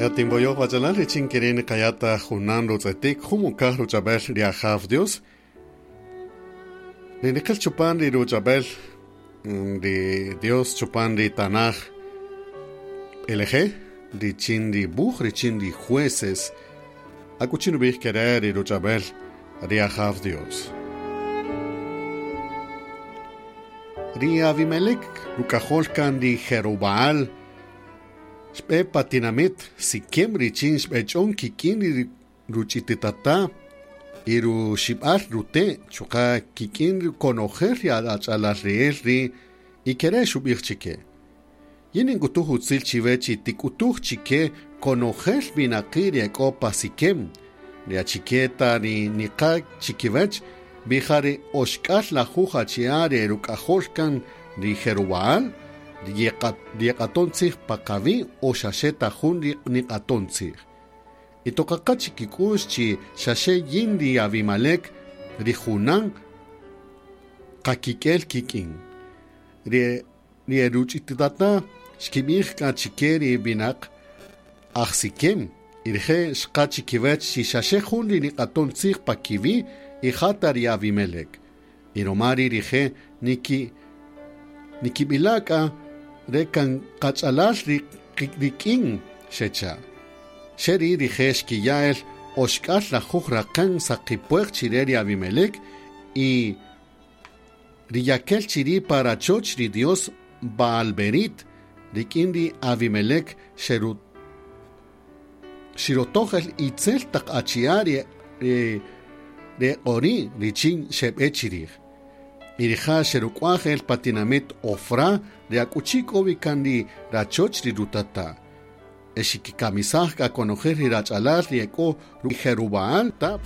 Yatinboyoj wachalal richin kirin kayata junan rutz'etik jumukaj ruch'ab'el ri Ajaw Dios. Ri niqil chupan ri ruch'ab'el ri Dios chupan ri Tanaj LG richin ri buj richin ri jueces akuchi nub'ij kere ri ruch'ab'el ri Ajaw Dios. Ri Abimelech ruk'ajol kan ri Jerubaal xb'e pa tinamit Siquem richin xb'ech'on kik'in ri ruch'ititata y ruxib'al rute' chuqa' kik'in konojel ri ach'alal ri'el ri y kere' xub'ij chike. Yin nink'utuj utzil chiwe chi tik'utuj chike konojel winaqi' ri e k'o pa Siquem, ri achiketa ri niqa chikiwech bija ri oxk'al lajuj achi'a' ri ruk'ajol kan ri Jerubaal, ri yeq'aton tzij pa qawi' o xaxe ta jun ri niq'aton tzij. Y toqaqa chikik'u'x chi xaxe yin ri Abimelech ri junan qakik'el kik'in. Ri ruch'ititata xkib'ij k'a chike ri winaq aj Siquem y rije' xqa chikiwech chi xaxe jun ri niq'aton tzij pa kiwi' y jata ri Abimelech. Y roma ri rije' nikib'ila' k'a re kan qach'alal rik'in xecha'. Xeri rije' xkiya'el oxk'al lajuj raqän saqipueq chire ri Abimelech y ri yakel chiri pa rachoch ri Dios Baalberit rik'in ri Abimelech xirotojel itzel taq achi'a' ri q'ori' richin xeb'e chirij. Y rija' xeruk'waj el pa tinamit Ofra ri akuchi k'o wi kan ri rachoch ri rutata'. E xikikamisaj k'a konojel ri rach'alal ri e k'o Jerubaal ta.